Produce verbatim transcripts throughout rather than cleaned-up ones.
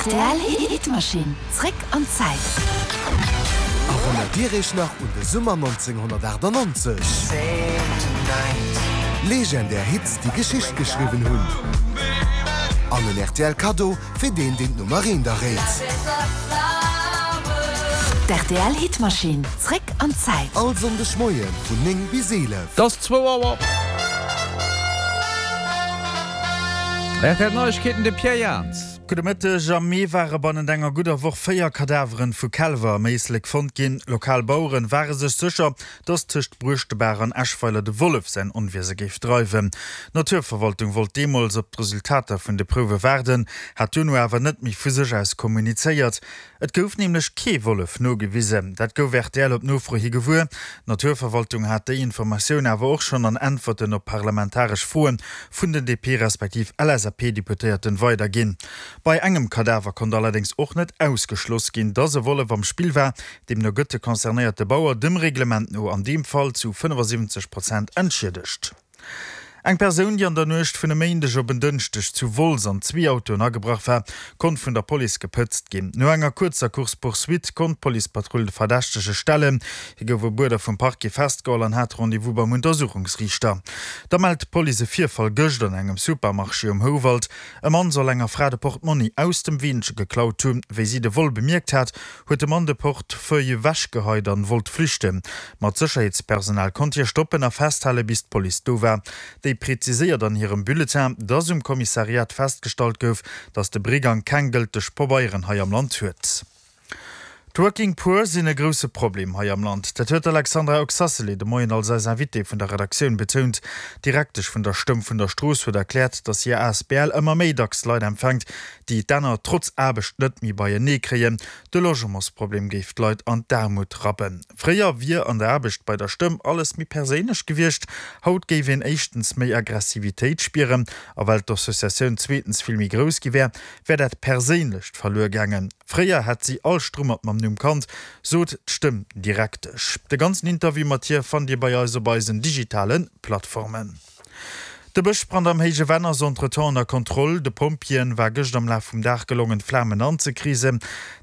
Rtl Hitmaschinn, zréck an d'Zäit. Erënnert Dir Iech nach un de Summer nonzénghonnertaachtanonzeg? Legendär Hits, déi Geschicht geschriwwen hunn. An en rtl Kaddo fir deen, deen d'Nummer eent erréit. D'RTL Hitmaschinn, zréck an d'Zäit. All Sonndeg Moie vun néng bis eelef. Et ass zwou Auer. Rtl Neiegkeeten, de Pierre Jans. Gudde Mëtteg. Am Mee ware bannent enger gudder Woch véier Kadaveren vu Kälwer am Éislek fonnt ginn. Lokal Baueren ware sech sécher, dass tëscht Bruechtebaach an Eschweiler de Wollef säin Onwiese géif dreiwen. D'Naturverwaltung wollt deemools op d'Resultater vun de Prouwe waarden, hat duerno awer net méi vu sech aus kommunizéiert. Et gouf nämlech kee Wollef nogewisen. Dat gouf rtl op Nofro hi gewuer. D'Naturverwaltung hat déi Informatioun awer och schonn an Äntwerten op parlamentaresch Froe vun den D P respektiv L S A P-Deputéierten weiderginn. Bei engem Kadaver konnt allerdéngs och net ausgeschloss ginn, dass e Wollef am Spill war. Deemno gëtt de concernéierte Bauer dem Reglement no an deem Fall zu fënnefasiwwenzeg Prozent entschiedegt. Eng Persoun, déi an der Nuecht vun e Méindeg op en Dënschdeg zu Wolz an zwee Autoen agebrach war, konnt vun der Police gepëtzt ginn. No enger kuerzer Course-poursuite konnt d'Policepatrull de Verdächtege stellen. Hie gouf op Uerder vum Parquet festgeholl an hat Rendez-vous beim Untersuchungsriichter. Da mellt d'Police e Virfall gëscht an engem Supermarché um Houwald. E Mann soll enger Fra de Portmonni aus dem Weenche geklaut hunn. Wéi si de Vol bemierkt hat, huet de Mann de Portefeuille ewechgeheit an wollt flüchten. Ma d'Sécherheetspersonal konnt hie stoppen a festhale bis d'Police do war. Déi präziséiert an hirem Bulletin, dass um Kommissariat festgestallt gouf, dass de Brigang keng gëlteg Pabeieren hei am Land huet. D'Working Poor sinn e grousse Problem hei am Land. Dat huet d'Alexandra Oxacelay de Moien als eis Invitée vun der Redaktioun betount. D'Direktesch vun der Stëmm vun der Strooss huet erkläert, dass hir A S B L ëmmer méi dacks Leit empfänkt, déi d'Enner trotz Aarbecht net méi beienee kréien. De Logementsproblem géif d'Leit an d'Aarmut rappen. Fréier wier an der Aarbecht bei der Stëmm alles méi perséinlech gewiescht. Haut géif een éischtens méi Aggressivitéit spieren, a well d'Associatioun zweetens vill méi grouss gi wär, wär dat Perséinlecht verluer gaangen. Fréier hätt si all Strummert mam Numm kannt, sot d'Stëmmdirektesch. De ganzen Interview mat hir fannt Dir bei eis op eisen digitale Plattformen. De Bëschbrand am Héije Venn ass entretemps ënner Kontroll. De Pompjeeën war gëscht am Laf vum Dag gelongen, d'Flamen anzekrisen.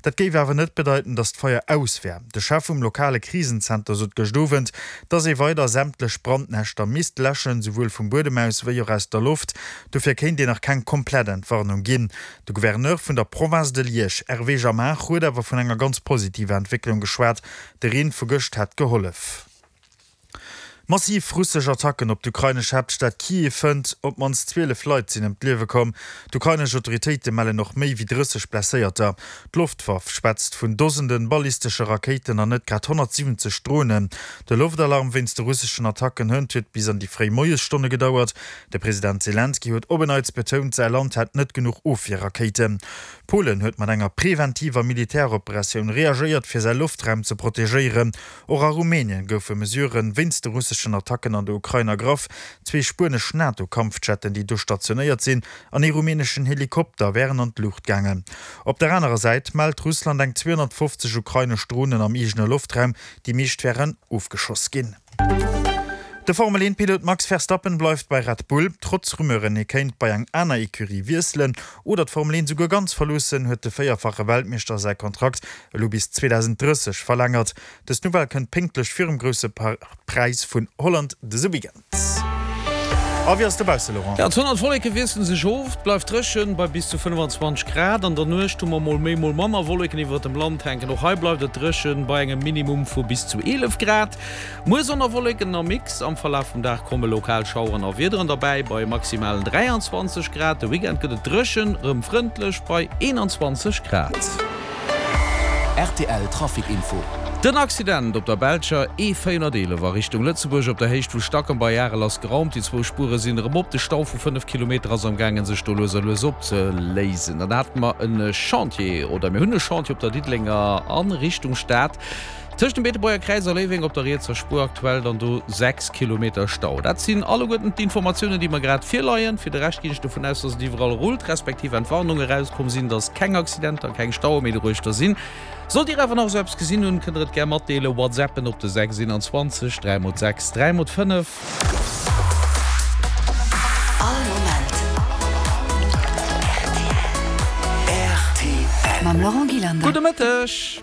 Dat géif awer net bedeiten, datt d'Feier aus wär. De Chef vum lokale Krisenzenter sot gëscht Owend, datt ee weider sämtlech Brandnäschter misst läschen, souwuel vum Buedem aus wéi och aus der Loft. Dofir kéint een nach keng komplett Entwarnung ginn. De Gouverneur vun der Province de Liège, Hervé Jamard, huet awer vun enger ganz positiver Entwécklung geschwat. De Reen vu gëscht hätt gehollef. Massiv russesch Attacken op d'ukrainesch Haaptstad Kiew fënnt. Op d'mannst zwielef Leit sinn ëm d'Liewe komm. D'ukrainesch Autoritéite mellen och méi wéi drësseg Blesséierter. D'Loftwaff schwätzt vun Dosenden ballistesche Rakéiten an net grad honnertsiwwenzeg Dronen. De Loftalarm wéinst de russeschen Attacken hënt huet bis an déi fréi Moiesstonne gedauert. De President Selenskyj huet op en Neits betount, säi Land hätt net genuch Ofwierrakéiten. Polen huet mat enger preventiver Militäroperatioun reagéiert, fir säi Loftraum ze protegéieren. Och a Rumänien goufe Mesuren wéinst de russeschen Attacken an der Ukrain ergraff. Zwee spuenesch NATO-Kampfjetten, déi do stationéiert sinn, an ee rumäneschen Helikopter wären an d'Luucht gaangen. Op der anerer Säit mellt Russland eng zweehonnertfofzeg ukrainesch Dronen am eegene Loftraum, déi meescht wären ofgeschoss ginn. De Formel-een-Pilot Max Verstappen bleift bei Red Bull. Trotz Rumeuren, hie kéint bei eng aner Ecurie wiesselen oder d'Formel een souguer ganz verloossen, huet de véierfache Weltmeeschter säi Kontrakt elo bis zweedausenddrësseg verlängert. Dës Nouvelle kënnt pénktlech virum grousse Präis vun Holland dëse Weekend. A wéi ass dobausse, Laurent? Ja, d'Sonn an d'Wolleke wiessele sech of, et bleift dréchen bei bis zu fënnefenzwanzeg Grad. An der Nuecht hu mer mol méi, mol manner Wolleken iwwert dem Land hänken. Och hei bleift et dréchen bei engem Minimum vu bis zu eelef Grad. Muer Sonn a Wolleken am Mix, am Verlaf vum Dag komme lokal Schaueren a Wiederen derbäi bei maximalen dräianzwanzeg Grad. De Weekend gëtt et dréchen, erëm frëndlech bei eenanzwanzeg Grad. R T L Trafic Info. Den Accident op der belscher E véierhonnerteelef a Richtung Lëtzebuerg op der Héicht vu Stackem bei Arel ass geraumt. Déi zwou Spuere sinn erëm op. De Stau vu fënnef Kilometer ass am gaangen sech do lues a lues opzeléisen. Dann hate mer e Chantier, oder mir hunn e Chantier op der Diddelenger a Richtung Stad. Tëscht dem Beetebuerger Kräiz a Léiweng op der rietser Spuer aktuell dann do sechs Kilometer Stau. Dat sinn alleguerten d'Informatiounen, déi mer grad virleien. Fir de Rescht ginn ech dovun aus, dass et iwwerall rullt, respektiv Entwarnung erauskomm sinn, dass keng Accidenter, keng Staue méi doruechter sinn. Sollt Dir awer nach esou eppes gesinn hunn, kënnt der et gär matdeelen. WhatsAppen op de sechs eenanzwanzeg dräi mol sechs dräi mol fënnef. All Moment. R T L. Mam Laurent Gillander. Gudde Mëtteg.